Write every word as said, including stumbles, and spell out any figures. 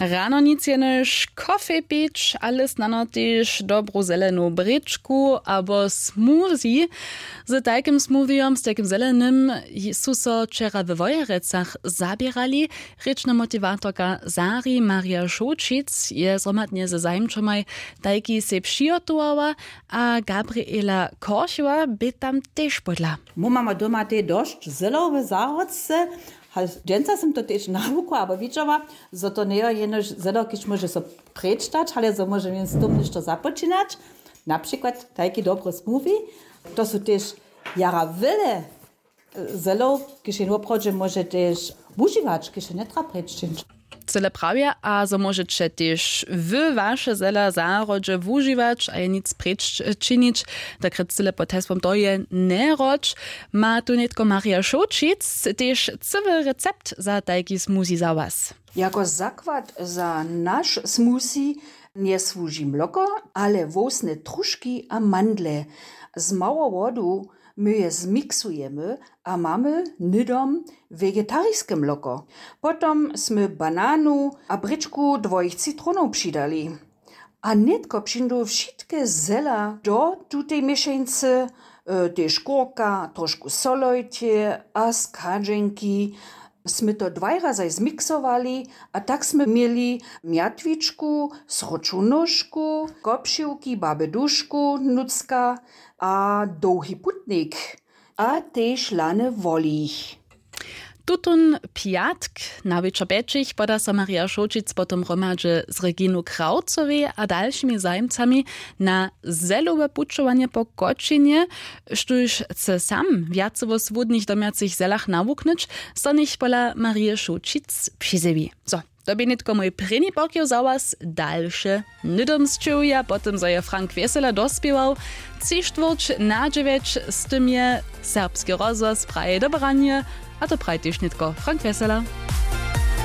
Rano nic jenož kofej pić, ale snano tež dobru zelenu brěčku abo smoothie. Z tajkim smoothijom, z tajkim zelenym, su so wčera we Wojerecach zaběrali. Rěčna motiwatorka Sari Maria Šołćic je zhromadnje ze zajimčomaj tajki sej přihotowała, a Gabriela Korchowa bě tam tež pódla. Mój mamy doma tej dosć zelow w zahrodce. Dźensa sym to tež nawukła abo widźała, zo to njejo jenož zelo kiž móže so prěčtać, ale zo móže jen z tym něšto započinać. Na přikład tajki dobry smoothie. To su tež jara wjele zelow, kiž jen woprawdźe móže tež wužiwać, kiž je njetra prěčćić. Cyle prawje, a zo móžeće tež wy waše zela w zahrodźe wužiwać a je nic prěččinić, dokrjec cyle pod hesłom to je njeroč, ma tu nětko Maria Šołćic tež cyły recept za tajki smoothie za was. Jako zakład za naš smoothie njesłuži mloko, ale wowsne truški a mandle. Z mało wodu my je zmiksujemy a mamy hnydom wegetarijske mloko. Potom smy bananu a brěčku dwojich citronow přidali. A nětko přińdu wšitke zela do tutej měšeńcy, e, tež kurka, trošku solojće a schadźenki. Smy to dwaj razaj zmiksowali a tak smy měli mjatwičku, sroču nóžku, kopšiwki baby Dušku, Nutřka a dołhi putnik a tež lany wolich. Tutón pjatk na wječor pjećich poda so Maria Šołćic potom hromadźe z Reginu Krawcowej a dalšimi zajimcami na zelowe pućowanje po Kočinje, štóž chce sam wjace wo słódnych domjacych zelach nawuknyć, so nich pola Marije Šołćic přizjewi. Zo, to bě nětko mój prěni pokiw za was, dalše hnydom sćěhuja po tym, zo je Frank Wjesela dospěwał. Tři štwórć na dźewjeć, z tym je Serbski rozhłos praje do branje, a to praji tež nětko Frank Wjesela.